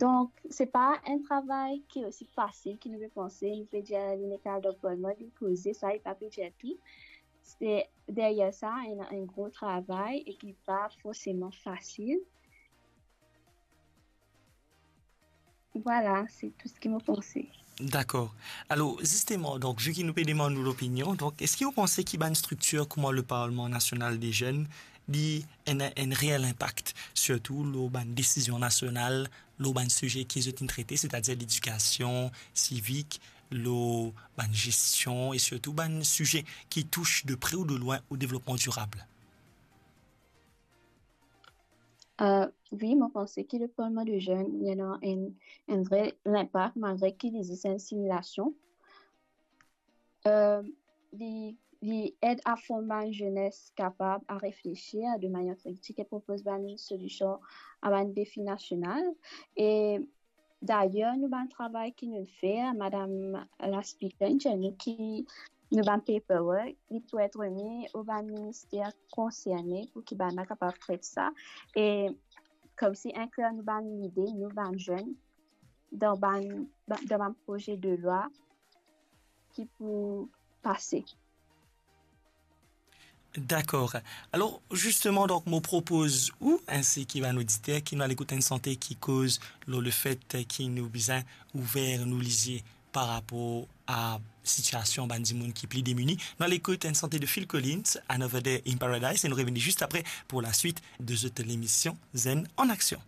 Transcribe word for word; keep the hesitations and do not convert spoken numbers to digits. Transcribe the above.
Donk, se pa enn travay ki osi fasil ki nou pe panse. Nou pe dir li nek al dan Palman, li poze sa, li pa pe dir tou. Se deryer sa, ena enn gro travay e ki pa forseman fasil. Vwala, se tou seki mo panse. Dakor. Alor, zisteman, donk, vi ki nou pe demann ou lopinion, donk, eski ou panse ki bann striktir kouma le Parlement National des Jeunes, li ena enn reel inpak, sirtou lor bann desizion nasional, lor bann size ki zot inn trete, setadir ledikasion sivik, lor bann gestion e sirtou bann size ki tous de pre ou de lwin o devlopman dirab? Euh, wi, mo panse ki le Parlement des Jeunes, li ena enn, enn vre linpak, malgre ki li zis enn similasion. Euh, li, li ed a form bann zenes kapab a reflesir de manier kritik e propoz bann solision a bann defi nasional. E dayer, nou bann travay ki nou fer, madam la Speaker inn dir nou ki nou bann paperwork, li pou et remi o bann minister konserne pou ki bann la kapav tret sa. E koumsi inklir nou bann lide, nou bann zenn, dan bann, dan bann proze de lwa ki pou pase. Dakor. Alor, zisteman, donk, mo propoz ou, ensi ki bann oditer, ki nou al ekout enn sante ki koz lor lefet ki nou bizin ouver nou lizie par rapor a sitiasion bann dimoun ki pli demini. Nou al ekout enn sante de Phil Collins, Another Day in Paradise, e nou revini zis apre pou laswit de zot lemision Zenn an Aksion.